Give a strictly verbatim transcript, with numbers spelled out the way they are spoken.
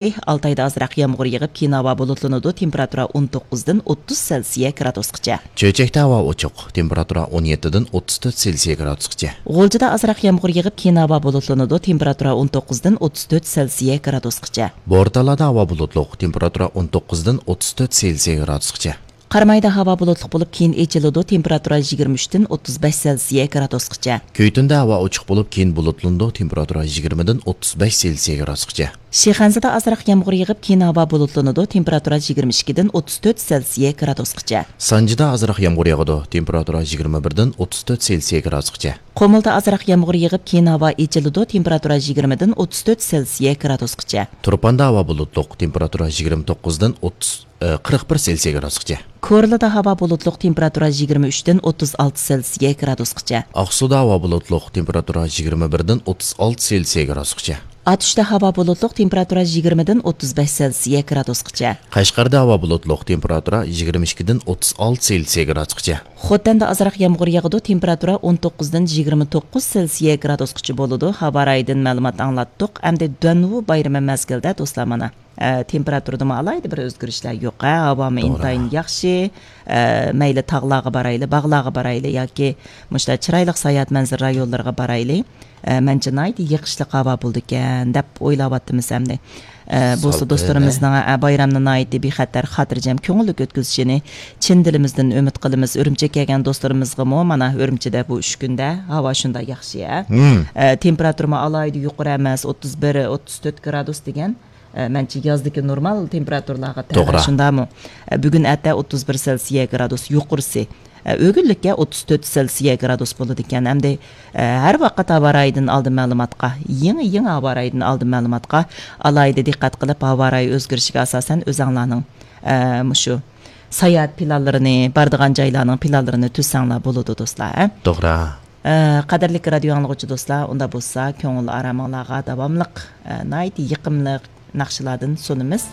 ئالتايدا ئازراق يامغۇر يېغىپ، كېيىن ھاۋا بۇلۇتلىنىدۇ، تېمپېراتۇرا ئون توققۇزدىن ئوتتۇز سېلسىيە گرادۇسقىچە. چۆچەكتە ھاۋا ئوچۇق، تېمپېراتۇرا ئون يەتتىدىن ئوتتۇز تۆت سېلسىيە گرادۇسقىچە. غۇلجىدا ئازراق يامغۇر يېغىپ، كېيىن ھاۋا بۇلۇتلىنىدۇ، تېمپېراتۇرا ئون توققۇزدىن ئوتتۇز تۆت سېلسىيە گرادۇسقىچە. بورتالادا ھاۋا بۇلۇتلۇق، تېمپېراتۇرا ئون توققۇزدىن ئوتتۇز تۆت سېلسىيە گرادۇسقىچە. قارامايدا ھاۋا بۇلۇتلۇق بولۇپ، كېيىن ئېچىلىدۇ، تېمپېراتۇرا يىگىرمە ئۈچتىن ئوتتۇز بەش سېلسىيە گرادۇسقىچە. كۈيتۇندە ھاۋا ئوچۇق بولۇپ، كېيىن بۇلۇتلىنىدۇ، تېمپېراتۇرا يىگىرمىدىن ئوتتۇز بەش سېلسىيە گرادۇسقىچە. شىخەنزىدە ئازراق يامغۇر يېغىپ، كېيىن ھاۋا بۇلۇتلىنىدۇ، تېمپېراتۇرا يىگىرمە ئىككىدىن ئوتتۇز تۆت سېلسىيە گرادۇسقىچە. سانجىدا ئازراق يامغۇر ياغىدۇ، تېمپېراتۇرا يىگىرمە بىردىن ئوتتۇز تۆت سېلسىيە گرادۇسقىچە. قۇمۇلدا ئازراق يامغۇر يېغىپ، كېيىن ھاۋا ئېچىلىدۇ، تېمپېراتۇرا يىگىرمىدىن ئوتتۇز تۆت سېلسىيە گرادۇسقىچە. تۇرپاندا ھاۋا بۇلۇتلۇق، تېمپېراتۇرا يىگىرمە توققۇزدىن ئوتتۇز، ئى، قىرىق بىر سېلسىيە گرادۇسقىچە. كورلىدا ھاۋا بۇلۇتلۇق، تېمپېراتۇرا يىگىرمە ئۈچتىن ئوتتۇز ئالتە سېلسىيە گرادۇسقىچە. ئاقسۇدا ھاۋا بۇلۇتلۇق، تېمپېراتۇرا يىگىرمە بىردىن ئوتتۇز ئالتە سېلسىيە گرادۇسقىچە. ئاتۇشتا ھاۋا بۇلۇتلۇق، تېمپېراتۇرا يىگىرمىدىن ئوتتۇز بەش سېلسىيە گرادۇسقىچە. قەشقەردە ھاۋا بۇلۇتلۇق، تېمپېراتۇرا يىگىرمە ئىككىدىن ئوتتۇز ئالتە سېلسىيە گرادۇسقىچە. خوتەندە ئازراق يامغۇر ياغىدۇ، تېمپېراتۇرا ئون توققۇزدىن يىگىرمە توققۇز سېلسىيە گرادۇسقىچە بولىدۇ. ھاۋا رايىدىن مەلۇمات ئاڭلاتتۇق. ئەمدى دۆنۋۇ بايرىمى مەزگىلىدە، دوستلار، مانا، ئە، تېمپېراتۇرىدىمۇ ئالاھىدە بىر ئۆزگىرىشلەر يوق، ھە؟ ھاۋامۇ توغرا. ئىنتايىن ياخشى. ئە، مەيلى تاغلارغا بارايلى، باغلارغا بارايلى ياكى مۇشۇنداق چىرايلىق ساياھەت مەنزىرە رايونلىرىغا بارايلى. ئە، مەنچە ناھايىتى يېقىشلىق ھاۋا بولىدىكەن دەپ ئويلاۋاتىمىز ئەمدى. ئە، بولسا سالقىن، دوستلىرىمىزنىڭ، ئە، بايرامنى ناھايىتى بىخەتەر، خاتىرجەم، كۆڭۈللۈك ئۆتكۈزۈشىنى چىن دىلىمىزدىن ئۈمىد قىلىمىز. ئۈرۈمچىگە كەلگەن دوستلىرىمىزغىمۇ مانا ئۈرۈمچىدە بۇ ئۈچ كۈندە ھاۋا شۇنداق ياخشى، ھە؟ مم. ئە، تېمپېراتۇرىمۇ ئالاھىدە يۇقىرى ئەمەس، ئوتتۇز بىر، ئوتتۇز تۆت گرادۇس دېگەن. ئە، مەنچە يازدىكى نورمال تېمپېراتۇرىلارغا تەۋە، توغرا. شۇنداقمۇ؟ ئە، بۈگۈن ئەتە ئوتتۇز بىر سېلسىيە گرادۇس يۇقىرىسى. ئە، ئۆگۈنلۈككە ئوتتۇز تۆت سېلسىيە گرادۇس بولىدىكەن. ئەمدى، ئە، ھەر ۋاقىت ھاۋا رايىدىن ئالدىن مەلۇماتقا، يېڭى، يېڭى ھاۋا رايىدىن ئالدىن مەلۇماتقا ئالاھىدە دىققەت قىلىپ، ھاۋا رايى ئۆزگىرىشىگە ئاساسەن ئۆزەڭلارنىڭ، ئە، مۇشۇ ساياھەت پىلانلىرىنى، بارىدىغان جايلارنىڭ پىلانلىرىنى تۈزسەڭلار بولىدۇ، دوستلار، ھە؟ توغرا. ئە، قەدىرلىك رادىيو ئاڭلىغۇچى دوستلار، ئۇنداق بولسا كۆڭۈل ئارامىڭلارغا داۋاملىق، ئە، ناھايىتى يېقىملىق ناخشىلاردىن سۇنىمىز.